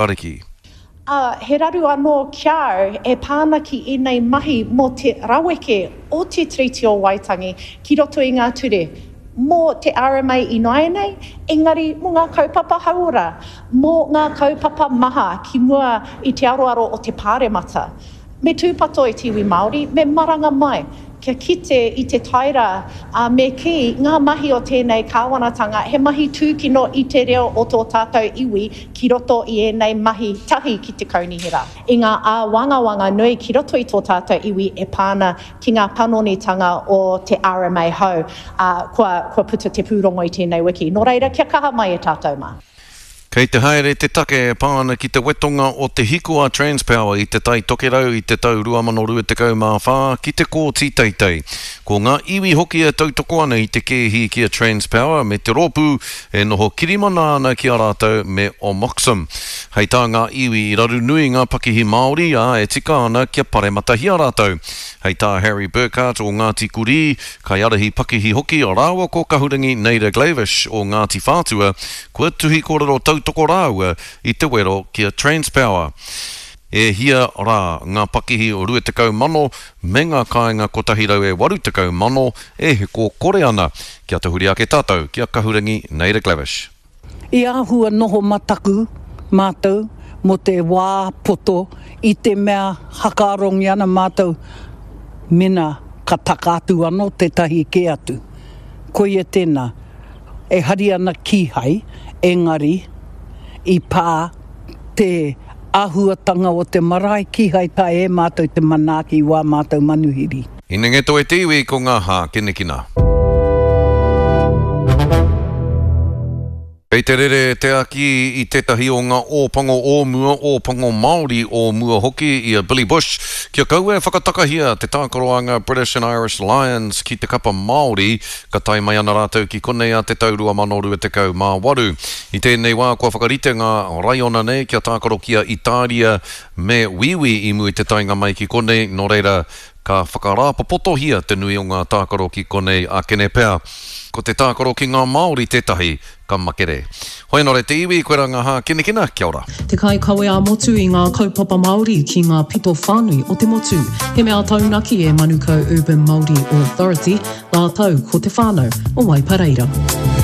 Ariki. Ā, he raru anō ki a au e pā ana ki ēnei mahi mō te raweke o te Tiriti o Waitangi ki roto i ngā ture mō te RMA ināianei, engari mō ngā kaupapa hauora, mō ngā kaupapa maha ki mua i te aroaro o te Pāremata. Me tūpato e te iwi Māori, me maranga mai kia kite i te taera, ā, me kī, ngā mahi o tēnei kāwanatanga he mahi tūkino i te reo o tō tātou iwi ki roto i ēnei mahi tahi ki te kaunihera, i ngā āwangawanga nui ki roto i tō tātou iwi e pā ana ki ngā panonitanga o te RMA hou, ā, kua, kua puta te pūrongo i tēnei wiki. Nō reira, kia kaha mai e tātou mā. Kei te haere te take e pā ana ki te wetonga o te hiko a Transpower i Te Tai Tokerau i te tau 2024 ki te Kōti Teitei. Ko ngā iwi hoki e tautoko ana i te kēhi ki a Transpower me te rōpū e noho kirimana ana ki a rātou me Omoxim. Hei tā ngā iwi i raru nui ngā pakihi Māori, ā, e tika ana kia parematahia rātou. Hei tā Harry Burkart o Ngāti Kurī, kaiārahi pakihi hoki, rāua ko Kahurangi Naida Glavish o Ngāti Whātua, Kua tuhi kōrero tautoko rāua i te wero ki a Transpower. E hia rā ngā pakihi 20,000 me ngā kāinga 180,000 e heko kore ana. Kia tahuri ake tātou ki a Kahurangi Naida Glavish. I āhua noho mataku mātou mō te wā poto i te mea hakaarongi ana mātou mena ka taka atu anō tētahi kē atu. Koia tēnā. E hari ana kīhai, engari i pā te āhuatanga o te marae, kīhai taea e mātou te manaaki i wā mātou manuhiri. Hinengeto e te iwi ko ngā hākinakina. Kei te rere te aki i tētahi o ngā Ōpango o mua, Ōpango Māori o mua hoki, i a Billy Bush, kia kaua e whakatakahia te tākaro a ngā British and Irish Lions ki te kapa Māori Ka tae mai ana rātou ki konei ā te tau 2028. I tēnei wā kua whakarite ngā raiona nei kia tākaro ki a Itāria me Wīwī i mua i te taenga mai ki konei, nō reira, ka whakarāpopotohia te nui o ngā tākaro ki konei akene pea. Ko te tākaro ki ngā Māori tētahi ka makere. Hoi anō re te iwi, koirā ngā hākinakina, kia ora. Te kaikawe ā-motu i ngā kaupapa Māori ki ngā pito whānui o te motu. He mea taunaki e Manukau Urban Māori Authority rātou ko te whānau o Waipareira.